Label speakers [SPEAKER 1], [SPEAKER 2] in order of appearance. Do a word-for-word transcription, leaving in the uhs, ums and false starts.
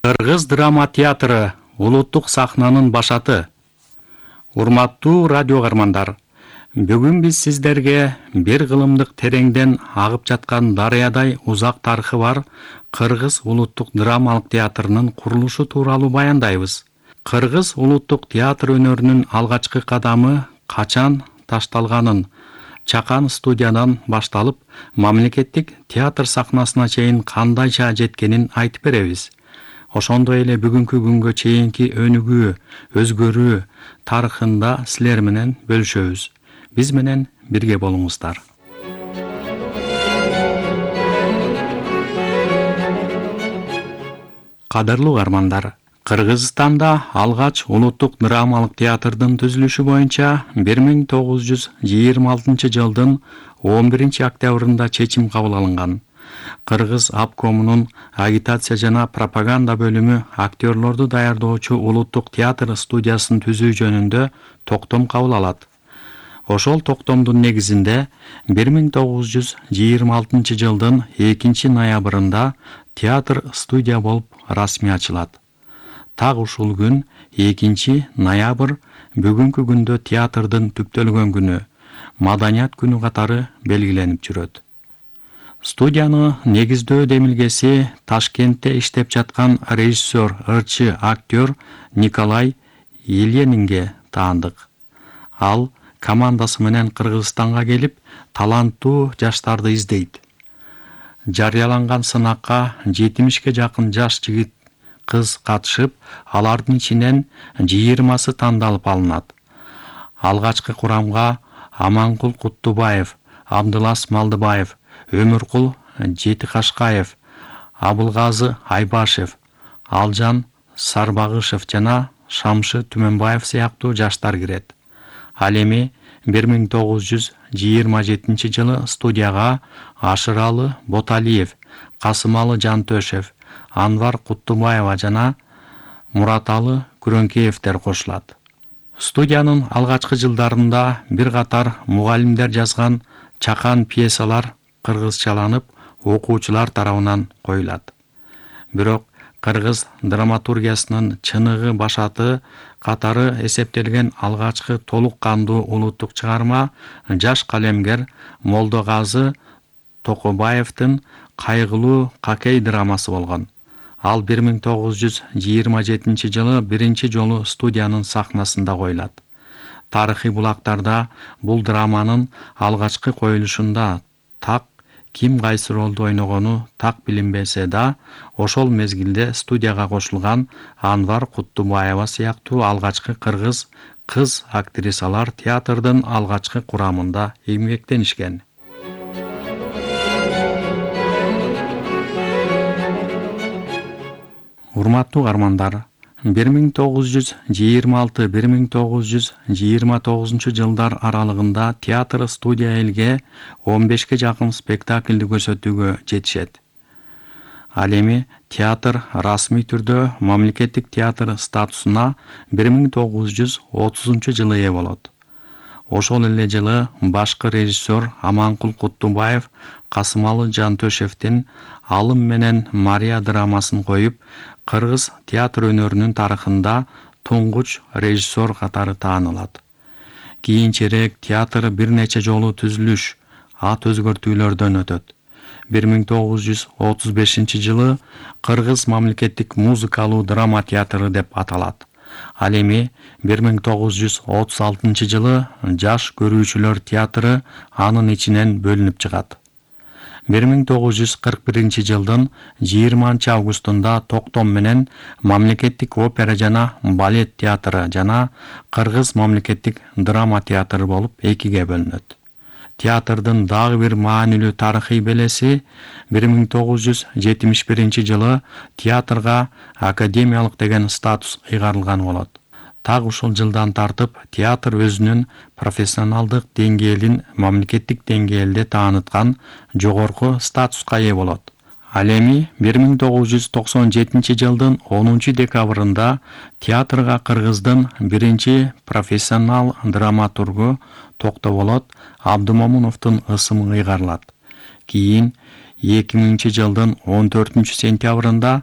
[SPEAKER 1] Кыргыз драма театры улуттук сахнанын башаты. Урматтуу радио каармандар, бүгүн биз сиздерге бир кылымдык тереңден агып жаткан дарыядай узак тарыхы бар Кыргыз улуттук драмалык театрынын курулушу тууралуу баяндайбыз. Кыргыз улуттук театр өнөрүнүн алгачкы кадамы качан ташталганын, чакан студиядан башталып, мамлекеттик театр сахнасына чейин кандайча жеткенин айтып беребиз. Ошондой эле бүгүнкү күнгө чейинки өнүгүү, өзгөрүү тарыхында силер менен бөлүшөбүз. Биз менен бирге болуңуздар. Кадырлуу каармандар, Кыргызстанда алгач улуттук драмалык театрдын түзүлүшү боюнча бир миң тогуз жүз жыйырма алтынчы жылдын он биринчи октябрында чечим кабыл алынган. Кыргыз обкомунун агитация жана пропаганда бөлүмү актерлорду даярдоочу улуттук театр студиясын түзүү жөнүндө токтом кабыл алат. Ошол токтомдун негизинде бир миң тогуз жүз жыйырма алтынчы жылдын экинчи ноябрында театр студия болуп расмий ачылат. Так ушул күн экинчи ноябрь бүгүнкү күндө театрдын түптөлгөн күнү, маданият күнү катары белгиленип жүрөт. Студияны негиздөө демилгеси Ташкентте иштеп жаткан режиссер, ырчы, актер Николай Ильинге таандык. Ал командасы менен Кыргызстанга келип, таланттуу жаштарды издейт. Жарыяланган сынакка жетимишке жакын жаш жигит, кыз катышып, алардын ичинен жыйырмасы тандалып алынат. Алгачкы курамга Аманкул Куттубаев, Абдылас Малдыбаев, Өмүркул Жетикашкаев, Абылгазы Айбашев, Алжан Сарбагышев жана Шамшы Түмөнбаев сыяктуу жаштар кирет. Ал эми бир миң тогуз жүз жыйырма жетинчи жылы студияга Ашыралы Боталиев, Касымалы Жантөшев, Анвар Куттубаева жана Мураталы Күрөңкеевдер кошулат. Студиянын алгачкы жылдарында бир катар мугалимдер жазган чакан пьесалар кыргызчаланып, окуучулар тарабынан коюлат. Бирок кыргыз драматургиясынын чыныгы башаты катары эсептелген алгачкы толук кандуу улуттук чыгарма жаш калемгер Молдогазы Токобаевдин Кайгылуу Какей драмасы болгон. Ал бир миң тогуз жүз жыйырма жетинчи жылы биринчи жолу студиянын сахнасында коюлат. Тарыхый булактарда бул драманын алгачкы коюлушунда так ким кайсы ролду ойногону так билинбесе да, ошол мезгилде студияга кошулган Анвар Куттубаева сыяктуу алгачкы кыргыз кыз актрисалар театрдын алгачкы курамында эмгектенишкен. Урматтуу каармандар, бир миң тогуз жүз жыйырма алты — бир миң тогуз жүз жыйырма тогузунчу жылдар аралыгында театр студия элге он бешке жакын спектакльди көрсөтүүгө жетишет. Ал эми театр расмий түрдө мамлекеттик театр статусуна бир миң тогуз жүз отузунчу жылы ээ болот. Ошол эле жылы башкы режиссер Аманкул Куттубаев Касымалы Жантөшевдин Алым менен Мария драмасын коюп, кыргыз театр өнөрүнүн тарыхында туңгуч режиссер катары таанылат. Кийинчерээк театр бир нече жолу түзүлүш, ат өзгөртүүлөрдөн өтөт. бир миң тогуз жүз отуз бешинчи жылы Кыргыз мамлекеттик музыкалуу драма театры деп аталат. Ал эми бир миң тогуз жүз отуз алтынчы жылы жаш көрүүчүлөр театры анын ичинен бөлүнүп чыгат. бир миң тогуз жүз кырк биринчи жылдын жыйырманчы августунда токтом менен мамлекеттик опера жана балет театры жана Кыргыз мамлекеттик драма театры болуп экиге бөлүнөт. Театрдын дагы бир маанилүү тарыхый белеси бир миң тогуз жүз жетимиш биринчи жылы театрга академиялык деген статус ыйгарылган болот. Так ушул жылдан тартып театр өзүнүн профессионалдык деңгээлин мамлекеттик деңгээлде тааныткан жогорку статуска ээ болот. Ал эми бир миң тогуз жүз токсон жетинчи жылдын онунчу декабрында театрга Кыргыздын биринчи профессионал драматургу Токтоболот Абдымомуновдун ысымы ыйгарылат. Кийин эки миңинчи жылдын он төртүнчү сентябрында